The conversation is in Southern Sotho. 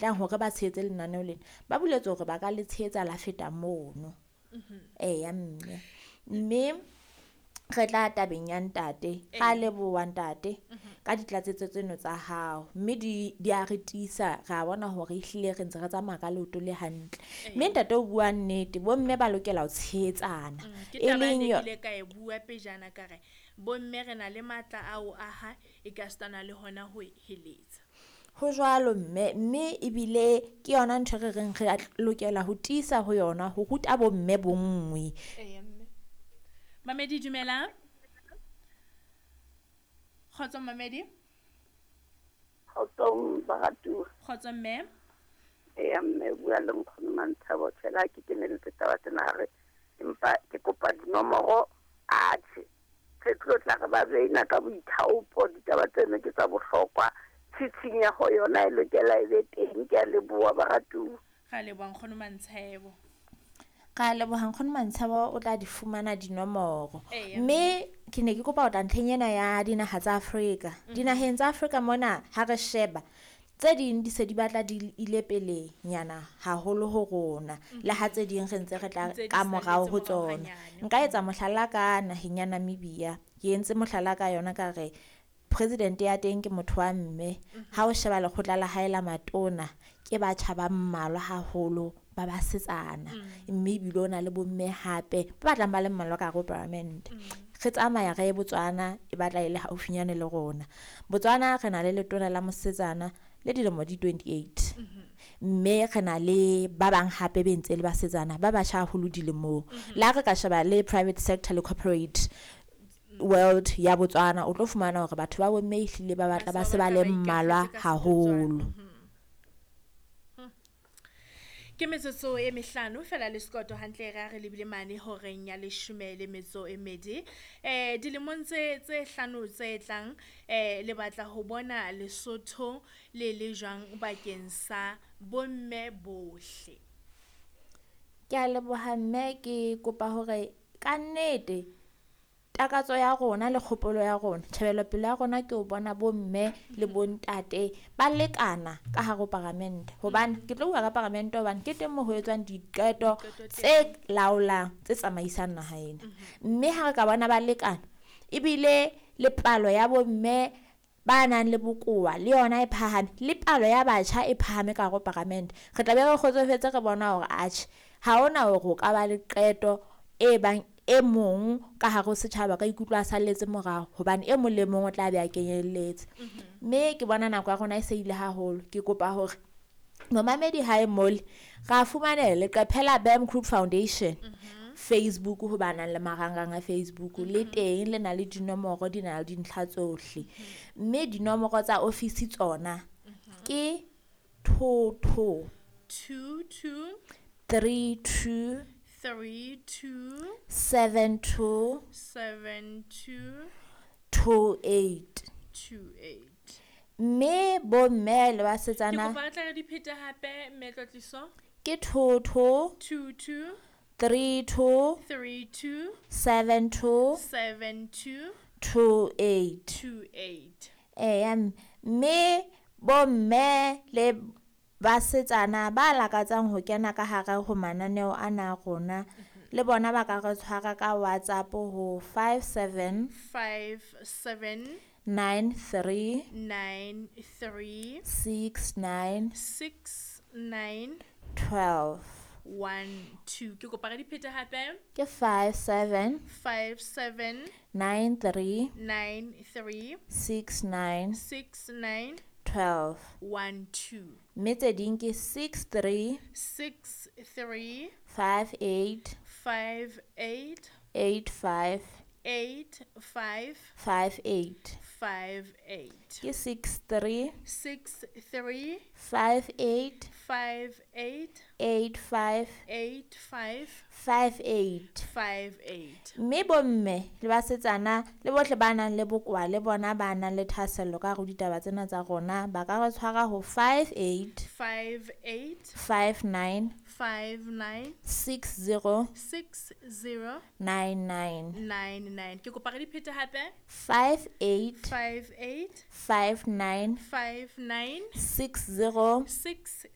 Tlang hore ba tshehetse lenaneo lena, ba buletswe hore ba ka le tshehetsa la feta mono. Eya mme, mme re tla tabeng ya ntate. Ra leboha ntate ka ditlatsetso tseno tsa hao, mme di a re tiisa ra bona hore ehlile re ntse re tsamaya ka leoto le hantle. Mme ntate o bua nnete, bomme ba lokela ho tshehetsana. Ke E taba e leng ne yo ke ile ka e bua pejana ka re bomme re na le matla a ho aha e ka sitana le hona ho heletsa. Ho jwalo mme, mme ebile ke yona ntho e re reng re lokela ho tiisa ho yona ho ruta bomme bonngwe. Eya mme. Mamedi dumela. Kgotso mamedi. Kgotsong baratuwa. Kgotso mme. Eya mme, bua le nkgono Mantshabo. Tjhela ha ke keneletse taba tsena hare, empa ke kopa dinomoro. Atjhe, re tlo tla re ba beina ka boithaopo. Ditaba tseno ke tsa bohlokwa. Tshitshinyeho yona e lokela e be teng. Ke a leboha baratuwa. Ra leboha nkgono Mantshebo. Ra leboha nkgono Mantshebo, o tla di fumana dinomoro. Eya. Mme ke ne ke kopa ho tla ntlheng ena ya dinaha tsa Afrika. Dinaheng tsa Afrika mona ha re sheba tse ding di se di batla di ile pele nyana haholo ho rona, le ha tse ding re ntse re tla Ntse di ka morao salletse ho morao tsona. hanyane. Nka etsa mohlala ka naheng ya Namibia. Ke entse mohlala ka yona ka re president ya teng ke motho wa mme. Ha o sheba lekgotla la hae la matona ke batjha ba mmalwa haholo ba basetsana, mme ebile o na le bomme hape ba batlang ba le mmalwa ka hare ho parliament. Re tsamaya re ye Botswana, e batla e le haufinyane le rona. Botswana re na le letona la mosetsana le dilemo di 28, mme re na le ba bang hape be ntse le basetsana ba batjha haholo dilemong. Le ha re ka sheba le private sector le corporate world ya Botswana, o tlo fumana hore batho ba bomme ehlile ba batla ba se ba le mmalwa ikahletse ka haholo. Ke metsotso e mehlano fela le sekoto hantle re a re lebile mane horeng ya 12. Dilemong tse hlano tse tlang, le batla ho bona Lesotho le le jwang bakeng sa bomme bohle? Ke a leboha mme, ke kopa hore ka nnete takatso ya rona le kgopolo ya rona, tjhebelopele ya rona ke ho bona bomme le bontate ba lekana ka hare ho paramente. Hobane ke tlo bua ka paramente hobane ke teng moo ho etswang diqeto Diqeto tse laolang, tse tsamaisang naha ena. Mme ha re ka bona ba lekana, ebile le palo ya bomme ba nang le bokowa le yona e phahame, le palo ya batjha e phahame ka hare ho paramente, re tla be re kgotsofetse re bona hore atjhe ha hona hore o ka ba le qeto e bang e mong ka hare ho setjhaba ka ikutlwa a salletse morao, hobane e mong le mong o tla be a kenyelletse. Mme ke bona nako ya rona e se ile haholo. Ke kopa hore momamedi hae mole ra fumanela leqephe la BAM Group Foundation Facebook, ho ba nang le marangrang a Facebook le teng, le na le dinomoro, di na le dintlha tsohle. Mme dinomoro tsa ofisi tsona ke 22 22 32 32 72 72 28. 28. Mme bomme le Ke basetsana kopa re tla re di phete hape mme Tlotliso. ke 22 22 32 32 72 72 28. 28. Eya mme bomme le basetsana ba lakatsang ho kena ka hare ho mananeo ana a rona, le bona ba ka re tshwara ka WhatsApp ho 57 57 93 93 69 69 12. 12. Ke kopa re di phete hape. Ke 57 57 93 93 69 69 12. 12. Mme tse ding ke 63 63 58 58 85 85 58. 58. Ke 63 63 58 58 85 85 58. 58. Mme bomme le basetsana le bohle ba nang le bokowa le bona ba nang le thahasello ka hare ho ditaba tsena tsa rona, ba ka re tshwara ho 58 58 59 59 60 60 99. 99. Ke kopa re di phete hape. 58 58 59 59 60 60.